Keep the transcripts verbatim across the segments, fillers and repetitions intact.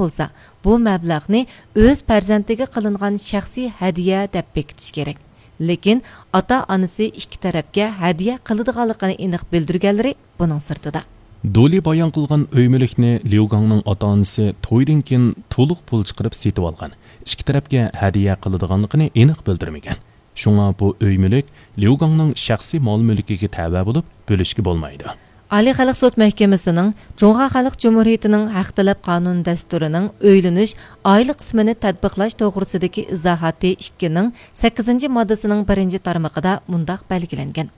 بولسا، بۇ مەبلەغنى ئۆز پەرزەنتىگە قىلىنغان شەخسىي ھەدىيە دەپ بېكىتىش كېرەك. لېكىن ئاتا-ئانىسى ئىككى تەرەپكە ھەدىيە قىلىدىغانلىقىنى ئېنىق بىلدۈرگەنلىرى بۇنىڭ سىرتىدا. دولى بايان قىلغان ئۆي مۈلۈكنى ليۇگاڭنىڭ ئاتا-ئانىسى تويدىن كېيىن تولۇق پۇل چىقىرىپ سېتىۋالغان، ئىككى تەرەپكە ھەدىيە قىلىدىغانلىقىنى ئېنىق بىلدۈرمىگەن. شۇڭا بۇ ئۆي مۈلۈك ليۇگاڭنىڭ شەخسىي مال مۈلكىگە تەۋە بولۇپ، بۆلۈشكە بولمايدۇ. ئالىي خەلق سوت مەھكىمىسىنىڭ جۇڭخۇا خەلق جۇمھۇرىيىتىنىڭ ھەق تەلەپ قانۇن دەستۇرىنىڭ ئۆيلىنىش ئائىلە قىسمىنى تەتبىقلاش توغرىسىدىكى ئىزاھاتى ئىككىنىڭ سەككىزىنچى ماددىسىنىڭ بىرىنچى تارمىقىدا مۇنداق بەلگىلەنگەن: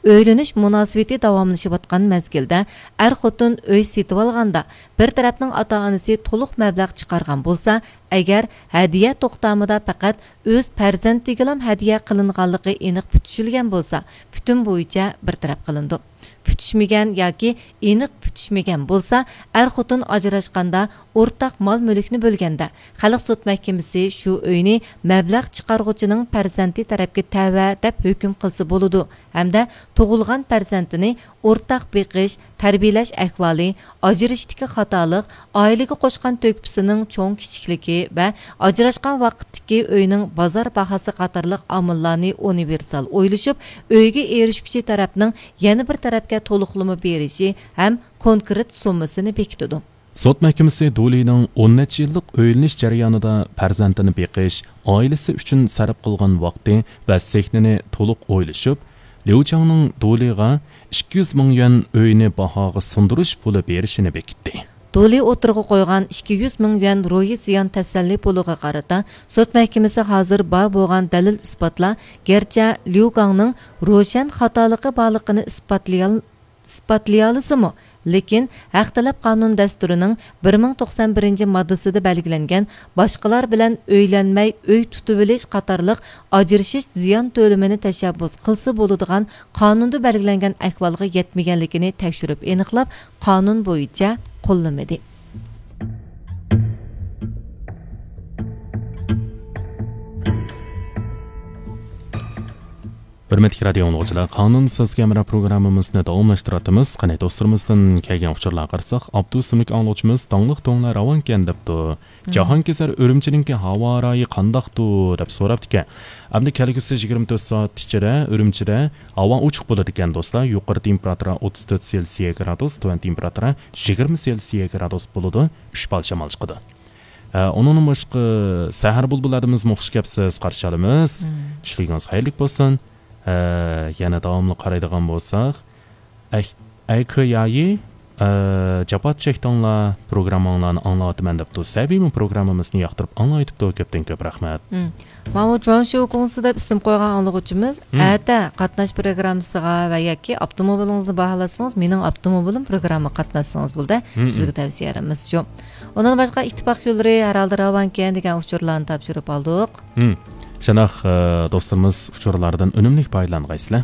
ئۆيلىنىش مۇناسىۋىتى داۋاملىشىۋاتقان مەزگىلدە ئەر-خوتۇن ئۆي سېتىۋالغاندا بىر تەرەپنىڭ ئاتا-ئانىسى تولۇق مەبلەغ چىقارغان بولسا، ئەگەر ھەدىيە توختامىدا پەقەت ئۆز پەرزەنتىگىلام ھەدىيە قىلىنغانلىقى ئېنىق پۈتۈشۈلگەن بولسا، پۈتۈن بويىچە بىر تەرەپ قىلىنىدۇ. پۈتۈشمىگەن ياكى ئېنىق پۈتۈشمىگەن بولسا، ئەر-خوتۇن ئاجراشقاندا ئورتاق مال-مۈلۈكنى بۆلگەندە، خەلق سوت مەھكىمىسى شۇ ئۆينى مەبلەغ چىقارغۇچىنىڭ پەرزەنتى تەرەپكە تەۋە دەپ ھۆكۈم قىلسا بولىدۇ ھەمدە تۇغۇلغان پەرزەنتىنى ئورتاق بېقىش، تەربىيەلەش ئەھۋالى، ئاجرىشىشتىكى خاتالىق، ئائىلىگە قوشقان تۆھپىسىنىڭ چوڭ-كىچىكلىكى ۋە ئاجراشقان ۋاقىتتىكى ئۆينىڭ بازار باھاسى قاتارلىق ئامىللارنى ئۇنىۋېرسال ئويلىشىپ، ئۆيگە ئېرىشكۈچى تەرەپنىڭ يەنە بىر تەرەپكە تولۇقلىما بېرىشى ھەم كونكرېت سوممىسىنى بېكىتىدۇ. سوت مەھكىمىسى دۇلىنىڭ ئون نەچچە يىللىق ئۆيلىنىش جەريانىدا پەرزەنتىنى بېقىش، ئائىلىسى ئۈچۈن سەرپ قىلغان ۋاقتى ۋە سېھنىنى تولۇق ئويلىشىپ، ليۇ چاڭنىڭ دۇلىغا ئىككى يۈز مىڭ يۈەن ئۆينى باھاغا سۇندۇرۇش پۇلى بېرىشىنى بېكىتتى. دۇلى ئوتتۇرىغا قويغان ئىككى يۈز مىڭ يۈەن روھىي زىيان تەسەللى پۇلىغا قارىتا سوت مەھكىمىسى ھازىر بار بولغان دەلىل-ئىسپاتلار گەرچە ليۇ گاڭنىڭ روشەن خاتالىقى بارلىقىنى ئىسپاتلىيال-، ئىسپاتلىيالىسىمۇ، لېكىن ھەق تەلەپ قانۇن دەستۇرىنىڭ بىر مىڭ توقسان بىرىنچى ماددىسىدا بەلگىلەنگەن باشقىلار بىلەن ئۆيلەنمەي ئۆي تۇتۇۋېلىش قاتارلىق ئاجرىشىش زىيان تۆلىمىنى تەشەببۇس قىلسا بولىدىغان قانۇندا بەلگىلەنگەن ئەھۋالغا يەتمىگەنلىكىنى تەكشۈرۈپ ئېنىقلاپ، قانۇن بويىچە قوللىمىدى. ھۆرمەتلىك رادىيو ئاڭلىغۇچىلار، قانۇن سىزگە ھەمراھ پروگراممىمىزنى داۋاملاشتۇرۇۋاتىمىز. قېنى، دوستلىرىمىزدىن كەلگەن ئۇچۇرلارغا قارىساق، ئابدۇ ئىسىملىك ئاڭلىغۇچىمىز داڭلىق دۆڭلەر راۋانكەن دەپتۇ. جاھانكېزەر ئۈرۈمچىنىڭكى ھاۋا رايى قانداقتۇ دەپ سوراپتىكەن. ئەمدى كەلگۈسى يىگىرمە تۆت سائەت ئىچىدە ئۈرۈمچىدە ھاۋا ئوچۇق بولىدىكەن دوستلار. يۇقىرى تېمپېراتۇرا ئوتتۇز تۆت سېلسىيە گرادۇس، تۆۋەن تېمپېراتۇرا يىگىرمە سېلسىيە گرادۇس بولىدۇ. ئۈچ پال شامال چىقىدۇ. ھە، ئۇنىڭدىن باشقا سەھەر بۇلبۇللاردا بىزمۇ خۇش كەپسىز قارشى ئالىمىز. مم. چۈشلۈكىڭىز خەيرلىك بولسۇن. ھە، يەنە داۋاملىق قارايدىغان بولساق، ئەك-، ئەيكۆيايى، ئە، جاپا چەكتىڭلار، پروگرامماڭلارنى ئاڭلاۋاتىمەن دەپتۇ. سەبىيمۇ پروگراممىمىزنى ياقتۇرۇپ ئاڭلاۋېتىپتۇ. كۆپتىن كۆپ رەھمەت. مم. ماۋۇ جۇاڭشيۇ گۇڭسى دەپ ئىسىم قويغان ئاڭلىغۇچىمىز، مم. ئەتە قاتناش پروگراممىسىغا ۋە ياكى ئاپتوموبىلىڭىزنى باھالاتسىڭىز، مېنىڭ ئاپتوموبىلىم پروگراممىغا قاتناشسىڭىز بولدى. مم. سىزگە تەۋسىيە بېرىمىز شۇ. ئۇنىڭدىن باشقا ئىتتىپاق يوللىرى ھەر ھالدا راۋانكەن دېگەن ئۇچۇرلارنى تاپشۇرۇپ ئالدۇق. مم. شۇنداق، ئە، دوستلىرىمىز ئۇچۇرلاردىن ئۈنۈملۈك پايدىلانغايسىلەر.